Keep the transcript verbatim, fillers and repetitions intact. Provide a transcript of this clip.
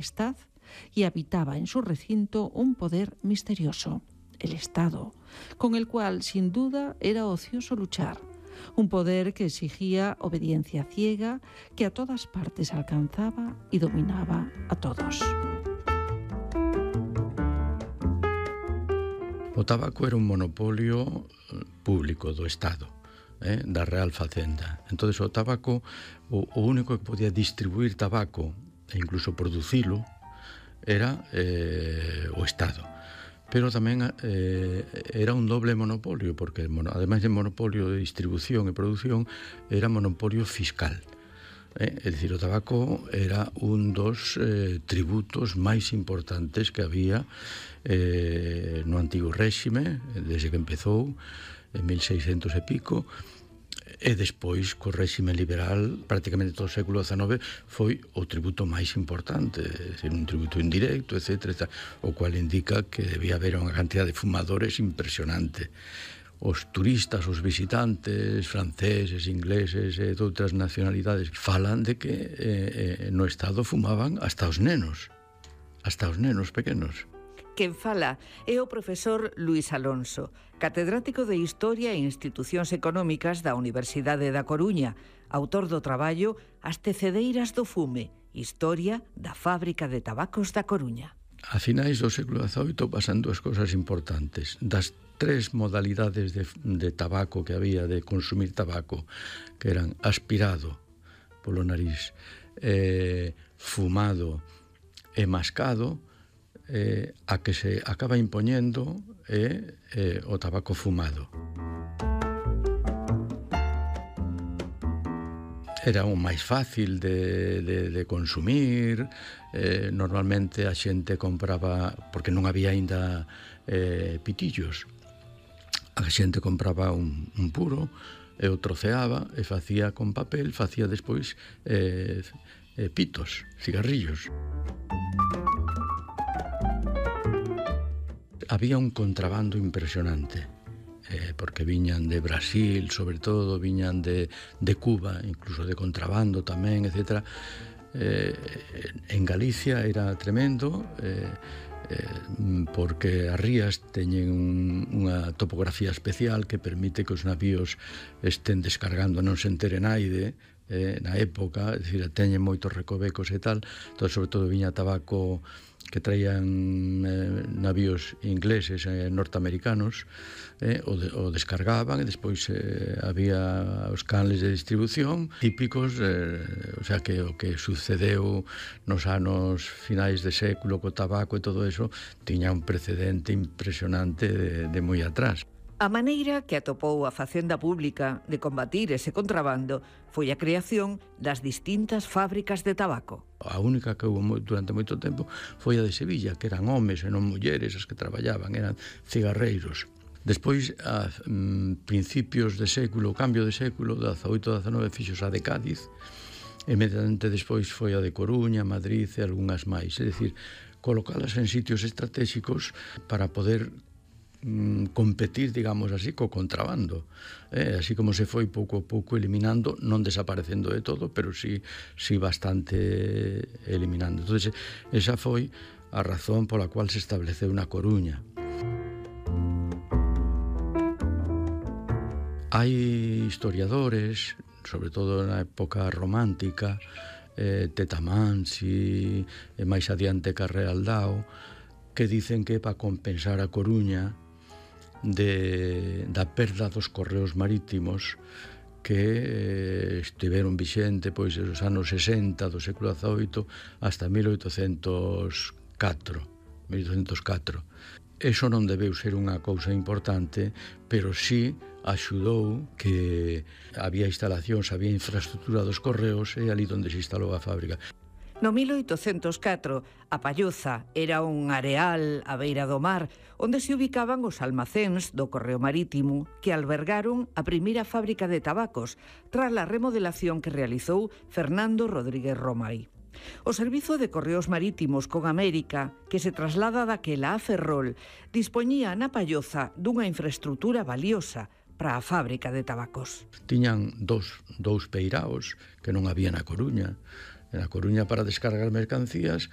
Majestad y habitaba en su recinto un poder misterioso, el Estado, con el cual sin duda era ocioso luchar. Un poder que exigía obediencia ciega, que a todas partes alcanzaba y dominaba a todos. O tabaco era un monopolio público do Estado, eh, da Real Facenda. Entón, o tabaco, o, o único que podía distribuir tabaco e incluso producilo era eh, o Estado. Pero tamén eh, era un doble monopolio, porque ademais de monopolio de distribución e produción, era monopolio fiscal. Eh? É dicir, o tabaco era un dos eh, tributos máis importantes que había eh, no antigo réxime, desde que empezou, en mil seiscentos e pico, e despois, co réxime liberal, prácticamente todo o século dezenove foi o tributo máis importante, é dicir, un tributo indirecto, etcétera, o cual indica que debía haber unha cantidad de fumadores impresionante. Os turistas, os visitantes franceses, ingleses e de outras nacionalidades falan de que eh, no Estado fumaban hasta os nenos, hasta os nenos pequenos. Quen fala é o profesor Luís Alonso, catedrático de Historia e Institucións Económicas da Universidade da Coruña, autor do traballo As tecedeiras do fume, historia da fábrica de tabacos da Coruña. A finais do século dezaoito pasan dúas cousas importantes. Das tres modalidades de, de tabaco que había, de consumir tabaco, que eran aspirado polo nariz, eh, fumado e mascado, eh, a que se acaba impoñendo é eh, o tabaco fumado. Era o máis fácil de, de, de consumir, eh, normalmente a xente compraba, porque non había aínda eh, pitillos, a xente compraba un, un puro e o troceaba e facía con papel, facía despois eh, eh, pitos, cigarrillos. Había un contrabando impresionante, eh, porque viñan de Brasil, sobre todo, viñan de, de Cuba, incluso de contrabando tamén, etcétera. Eh, en Galicia era tremendo, eh, eh, porque as rías teñen un, unha topografía especial que permite que os navíos estén descargando, non se entere naide, eh, na época, é dicir, teñen moitos recovecos e tal, entón, sobre todo viña tabaco que traían eh, navíos ingleses e eh, norteamericanos, eh, o, de, o descargaban e despois eh, había os canles de distribución típicos, eh, o sea que o que sucedeu nos anos finais de século co tabaco e todo eso tiña un precedente impresionante de, de moi atrás. A maneira que atopou a Facenda Pública de combatir ese contrabando foi a creación das distintas fábricas de tabaco. A única que houve durante moito tempo foi a de Sevilla, que eran homes e non mulleres as que traballaban, eran cigarreiros. Despois, a mm, principios de século, cambio de século, dezaoito a dezenove fixos a de Cádiz, e inmediatamente despois foi a de Coruña, Madrid e algunhas máis. É dicir, colocalas en sitios estratégicos para poder competir, digamos así, co contrabando, eh, así como se foi pouco a pouco eliminando, non desaparecendo de todo, pero sí, sí bastante eliminando. Entonces, esa foi a razón pola cual se estableceu na Coruña. Hai historiadores, sobre todo na época romántica, eh, Tetamansi, e máis adiante Carrealdao, que dicen que para compensar a Coruña de, da perda dos correos marítimos que eh, estiveron vixente pois os anos sesenta do século dezaoito hasta mil oitocentos catro. Eso non debeu ser unha cousa importante, pero sí axudou que había instalacións, había infraestructura dos correos e ali onde se instalou a fábrica. No mil oitocentos catro, a Palloza era un areal á beira do mar onde se ubicaban os almacéns do Correo Marítimo que albergaron a primeira fábrica de tabacos tras a remodelación que realizou Fernando Rodríguez Romai. O Servizo de Correos Marítimos con América, que se traslada daquela a Ferrol, dispoñía na Palloza dunha infraestructura valiosa para a fábrica de tabacos. Tiñan dous, dous peiraos que non había na Coruña. Na Coruña para descargar mercancías